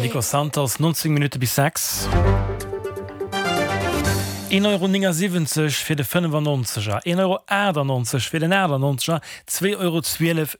Nico Santos, 19 Minutte bis 6. 1,79 Euro fir de 95er, 1,98 Euro fir den 98er, 2,12 Euro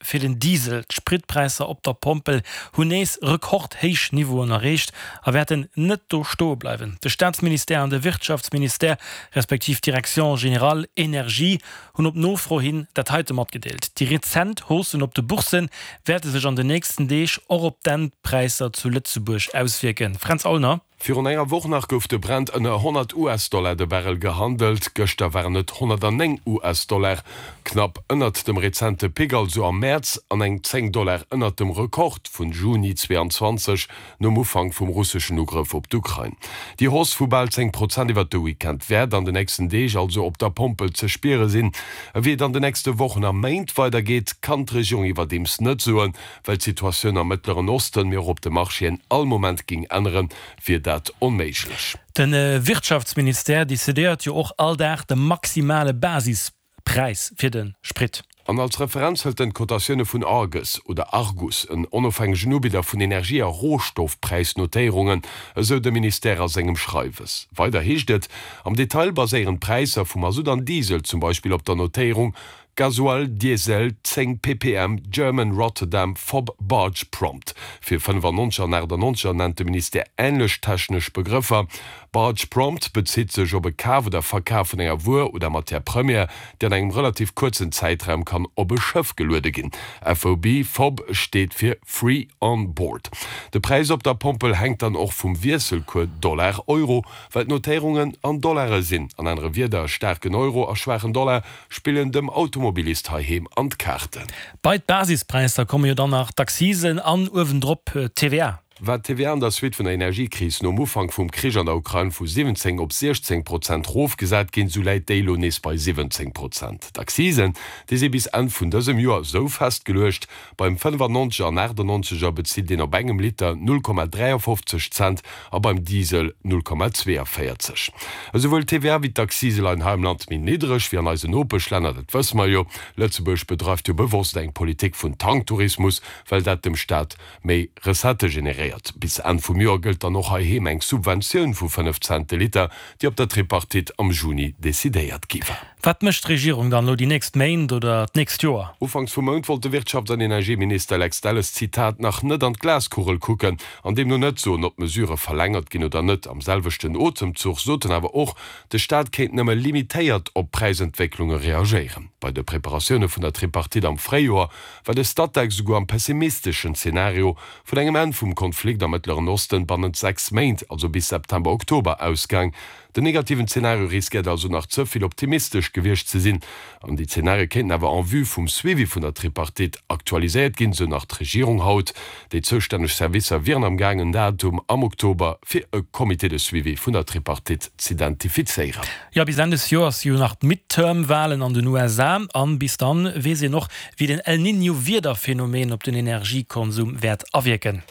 fir den Diesel. D'Spritpräisser op der Pompel hunn nees rekordhéich Niveauen erreecht a wäerten net do stoe bleiwen. De Staatsministère an de Wirtschaftsministère, respektiv d'Direction générale Énergie, hunn op Nofro hin dat heite matgedeelt, Déi rezent Haussen op de Boursse wäerte sech an den nächsten Deeg och op d'Endpräisser zu Lëtzebuerg auswierken. Fränz Aulner. Virun enger Woch nach gouf de Brent ënner 100 US-Dollar de Barrel gehandelt, gëschter waren et 109 US-Dollar, knapp ënnert dem rezente Pic also am Mäerz an eng 10 Dollar ënnert dem Rekord vun Juni 22, nom Ufank vum russeschen Ugrëff op d'Ukrain. Déi Hausse vu bal 10 Prozent iwwert de Weekend wäert an de nächsten Deeg also op der Pompel ze spiere sinn. Wéi et an de nächste Wochen a Méint weidergeet, kann d'Regierung iwwerdeems net soen. Well d'Situatioun am Mëttleren Osten, mee och op de Marchéen all Moment géing änneren, wier dat onméiglech. De Wirtschaftsministère decidéiert jo och all Dag de maximale Basispräis fir de Sprit. An als Referenz hëlt en d'Cotatioune vun Argus oder Argus, en onofhängegen Ubidder vun Energie a Rohstoffpräisnotéierungen, esou de Ministère a sengem Schreiwes. Weider heescht et, Am Detail baséieren d'Präisser vu Masutt an Diesel zum Beispill op der Notéierung Gasoil Diesel 10 ppm German Rotterdam fob Barge Prompt. Fir 95 an 98 nennt de Ministère änlech technesch Begrëffer. Barge Prompt bezitt sech op e Kaf oder Verkaf vun enger Wuer oder Matière première, déi an engem relativ kuerzen Zäitraum kann op e Schëff geluede ginn. FOB, fob, steet fir Free on Board. De Präis op der Pompel hänkt dann och vum Wiesselcours Dollar-Euro, well d'Notéierungen an Dollare sinn. An anere Wierder, staarken Euro a schwaachen Dollar spillen dem Automobilist heiheem an d'Kaarten. Bei d'Basispräisser komme jo dann nach d'Accisen an uewendrop d'TVA. War d'TVA an der Suite vun der Energiekris nom Ufank vum Krich an der Ukrain vu 17 op 16 Prozent rofgesat ginn, sou läit déi elo nees bei 17 Prozent. D'Accisen, déi si bis Enn vun dësem Joer sou festgeluecht, Beim 95er an 98er bezilt een op engem Liter 0,53 Cent a beim Diesel 0,42. Esouwuel d'TVA wéi d'Accise leien hei am Land méi niddreg wéi an eisen Nopeschlänner, dat wësse mer jo. Lëtzebuerg bedreift jo bewosst eng Politik vun Tanktourismus, well dat dem Staat méi Recettë generéiert. Bis Enn vum Joer gëllt dann och heiheem eng Subventioun vu 5 Cent de Liter, déi op der Tripartite am Juni decidéiert gi war. Wat mécht d'Regierung dann elo déi nächst Méint oder d'nächst Joer? Ufanks vum Mount wollt de Wirtschafts an Energieminister Lex Delles, Zitat, nach net an d'Glaskugel kucken an deemno net soen, ob d'Mesurë verlängert ginn oder net. Am selwechten Otemzuch sot en awer och, de Staat kéint nëmme limitéiert op Präisentwécklunge reagéieren. Bei de Preparatioune vun der Tripartite am Fréijoer war de Statec souguer am pessimisteschen Zenario vun engem Enn vum Konflikt am Mëttleren Osten bannent 6 Méint, also bis September, Oktober, ausgaang. Den negativen Zenario riskéiert also nach ze vill optimistesch gewiescht ze sinn. An déi Zenarie kéinten awer en vue vum Suivi vun der Tripartite aktualiséiert ginn, sou nach d'Regierung haut. Déi zoustänneg Servicer wieren am Gaang en Datum am Oktober fir e Comité de suivi vun der Tripartite z'identifizéieren. Jo, bis Enn des Joers si jo nach d'Midterm-Walen an den USA. An bis dann weess een och, wéi den El Niño-Wiederphenomen op den Energiekonsum wäert awierken.